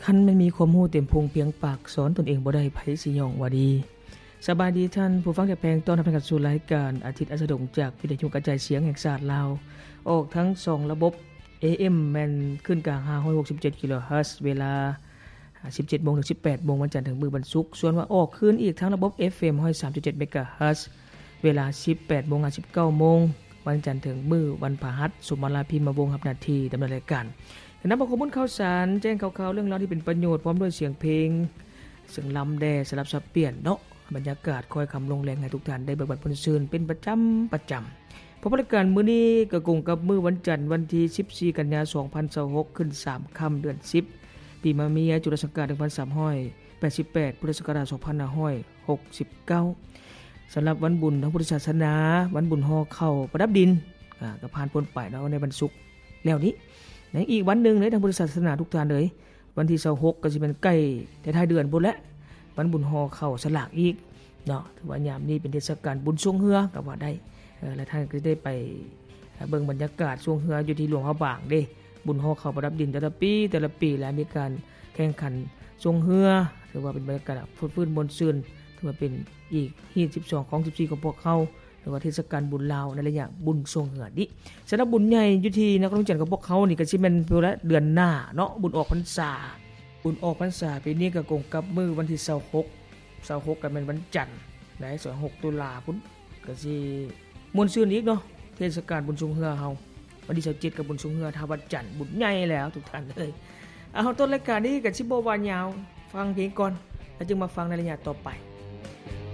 ຄັນແມ່ນມີຄວາມຮູ້ເຕັມພຸງພຽງປາກ ສອນຕົນເອງບໍ່ໄດ້ ໃຜຊິຍ້ອງວ່າດີ. ສະບາຍດີທ່ານຜູ້ຟັງທີ່ຮັກແພງ, ຕ້ອນຮັບທ່ານເຂົ້າສູ່ລາຍການອາທິດອັນສະດົງ ຈາກວິທະຍຸກະຈາຍສຽງແຫ່ງຊາດລາວ, ອອກທັງສອງລະບົບ ເອເອັມ ແມ່ນຄື້ນກາງ ຫ້າຮ້ອຍຫົກສິບເຈັດ ກິໂລເຮີດ, ເວລາ ສິບເຈັດໂມງເຖິງສິບແປດໂມງ ວັນຈັນເຖິງມື້ວັນສຸກ, ສ່ວນວ່າອອກຄືນອີກທາງລະບົບ ເອັບເອັມ ຮ້ອຍສາມຈຸດເຈັດ ເມກາເຮີດ, ເວລາ ສິບແປດໂມງຫາ ສິບເກົ້າໂມງ ວັນຈັນເຖິງມື້ວັນພະຫັດ. ສົມມາລາ ພິມມະວົງ ຮັບໜ້າທີ່ດຳເນີນລາຍການ. ນຳເອົາຂໍ້ມູນຂ່າວສານ, ແຈ້ງຂ່າວໆ ເລື່ອງລາວທີ່ເປັນປະໂຫຍດ ພ້ອມດ້ວຍສຽງເພງ ເຊິ່ງລຳແດ່ສະຫຼັບສັບປ່ຽນເນາະ, ບັນຍາກາດຄ້ອຍຄ່ຳລົງແລງໃຫ້ທຸກທ່ານໄດ້ເບິ່ງບັນເທີງຊື່ນເປັນປະຈຳ, ປະຈຳ. ເພາະວ່າລາຍການມື້ນີ້ກໍກົງກັບມື້ວັນຈັນ ວັນທີສິບສີ່ ກັນຍາ ສອງພັນຊາວຫົກ ຂຶ້ນສາມຄ່ຳ ເດືອນສິບ ປີມະເມຍ ຈຸລະສັກກາດ ໜຶ່ງພັນສາມຮ້ອຍແປດສິບແປດ ພຸດທະສັກກະລາດ ສອງພັນຫ້າຮ້ອຍຫົກສິບເກົ້າ. ສຳລັບວັນບຸນທາງພຸດທະສາສະໜາ, ວັນບຸນຫໍ່ເຂົ້າປະດັບດິນ, ອາ, ກໍຜ່ານພົ້ນໄປເນາະ ໃນວັນສຸກແລ້ວນີ້. ໃນອີກວັນໜຶ່ງເດ້ ທາງພຸດທະສາສະໜາທຸກທ່ານເອີຍ, ວັນທີຊາວຫົກ ກໍຊິແມ່ນໃກ້ທ້າຍໆເດືອນພຸ້ນແຫຼະ, ວັນບຸນຫໍ່ເຂົ້າສະຫຼາກອີກເນາະ. ຖືວ່າຍາມນີ້ເປັນເທດສະການບຸນຊ່ວງເຮືອກໍວ່າໄດ້, ເອີ ແລະ ທ່ານກໍຈະໄດ້ໄປເບິ່ງບັນຍາກາດຊ່ວງເຮືອຢູ່ທີ່ຫຼວງພະບາງເດ້. ບຸນຫໍ່ເຂົ້າປະດັບດິນແຕ່ລະປີ, ແຕ່ລະປີ ແລະ ມີການແຂ່ງຂັນຊ່ວງເຮືອ, ຖືວ່າເປັນບັນຍາກາດຟົດຟື້ນມ່ວນຊື່ນ, ຖືວ່າເປັນອີກຮີດສິບສອງ ຂອງສິບສີ່ຂອງພວກເຮົາ. ຫຼືວ່າເທດສະການບຸນລາວໃນໄລຍະບຸນຊ່ວງເຮືອນີ້. ສຳລັບບຸນໃຫຍ່ຢູ່ທີ່ນະຄອນຫຼວງວຽງຈັນຂອງພວກເຮົານີ້ ກໍຊິແມ່ນເວລາເດືອນໜ້າເນາະ, ບຸນອອກພັນສາ. ບຸນອອກພັນສາປີນີ້ກໍກົງກັບມື້ວັນທີຊາວຫົກ, ຊາວຫົກກໍແມ່ນວັນຈັນໃດ໋, ຊາວຫົກຕຸລາພຸ້ນ, ກໍຊິມ່ວນຊື່ນອີກເນາະ, ເທດສະການບຸນຊ່ວງເຮືອເຮົາ. ວັນທີຊາວເຈັດກໍບຸນຊ່ວງເຮືອທ່າວັດຈັນ, ບຸນໃຫຍ່ແລ້ວທຸກທ່ານເອີຍ. ເອົາ, ຕົ້ນລາຍການນີ້ກໍຊິບໍ່ວ່າຍາວ, ຟັງເພງກ່ອນ ແລ້ວຈຶ່ງມາຟັງໃນໄລຍະຕໍ່ໄປ.